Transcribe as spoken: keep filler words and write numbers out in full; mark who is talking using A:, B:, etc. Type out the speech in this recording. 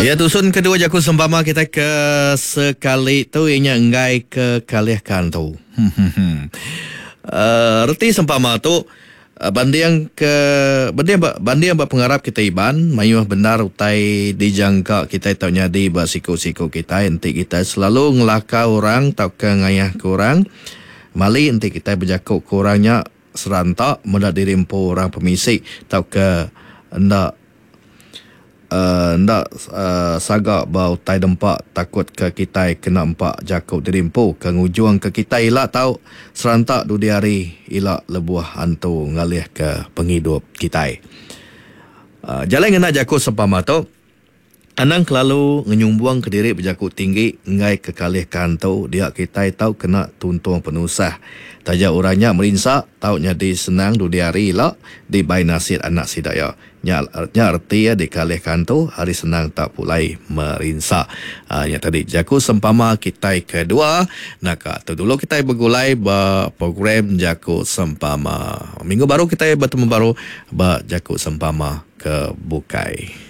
A: Ya tusun kedua jaku sempama kita ke sekali tu inya enggai ke kalih kantu. uh, reti sempama tu banding ke banding ba banding ba pengarap kita Iban mayuh bendar utai dijangka kita tau nyadi ba siku-siku kita enti kita selalu ngelakar orang tauka ngayah ke orang. Mali enti kita berjaku ke orang nya seranta meda diri empu orang pemisi tauka enda Uh, enda uh, saga ba utai dempa takut ke kitai kena empak jaku diri empu ke ngujung ke kitai ila tau seranta dudi hari ila lebuh antu ngalih ke pengidup kitai. Uh, jalai ngena jaku sempama tu anang kelalu ngenyumbung ke diri berjaku tinggi enggai ke kalih kantu dia kitai tau kena tuntung penusah. Taja orang nya merinsa tau nyadi senang dudi hari ila dibai nasit anak sida ya. Nya, nya erti ya dikalih kantu hari senang tak pulai merinsa. Ha, nya tadi jaku sempama kitai kedua. Naka tu dulu kitai begulai ba program jaku sempama. Minggu baru kitai bertemu baru ba jaku sempama ke bukai.